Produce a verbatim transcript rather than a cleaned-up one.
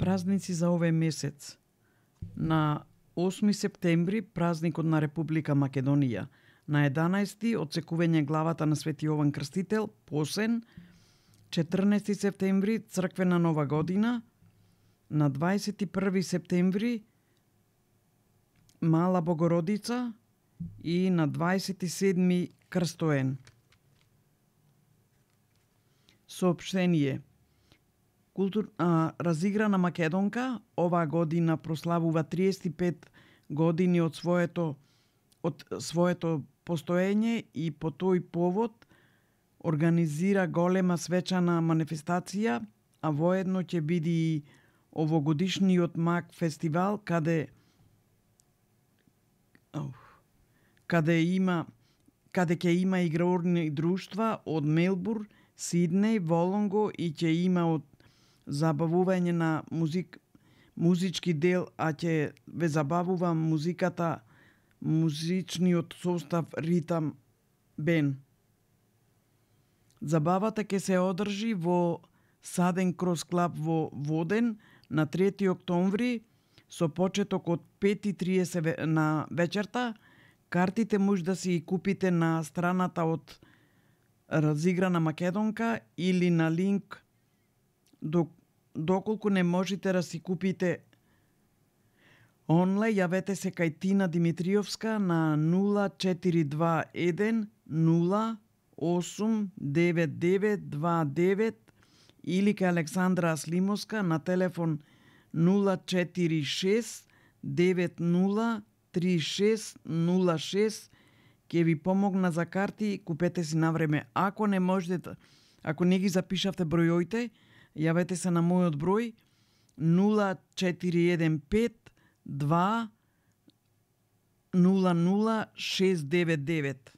Празници за овој месец. На осми септември празникот на Република Македонија. На единаести отсекување главата на Свети Јован Крстител, Посен. четрнаести септември црквена нова година. На дваесет и први септември Мала Богородица и на дваесет и седми Крстоен. Соопштение. Култур... А, разиграна Македонка оваа година прославува триесет и пет години од своето од своето постоење и по тој повод организира голема свечана манифестација, а воедно ќе биде и овогодишниот МАК фестивал каде каде има каде ќе има игрорни друштва од Мелбурн, Сиднеј, Волонго и ќе има од забавување на музик, музички дел, а ќе ве забавува музиката, музичниот состав Ритам Бен. Забавата ќе се одржи во Саден Крос Клаб во Воден на трети октомври со почеток од пет и триесет на вечерта. Картите може да си ги купите на страната од Разиграна Македонка или на линк. Доколку не можете да си купите онлайн, јавете се кај Тина Димитриовска на нула четири два еден нула осум девет девет два девет или кај Александра Аслимовска на телефон нула четири шест девет нула три шест нула шест. Ќе ви помогна за карти, купете си на време. Ако не можете, ако не ги запишавте бројоите, јавете се на мојот број нула четири еден пет два нула нула шест девет девет.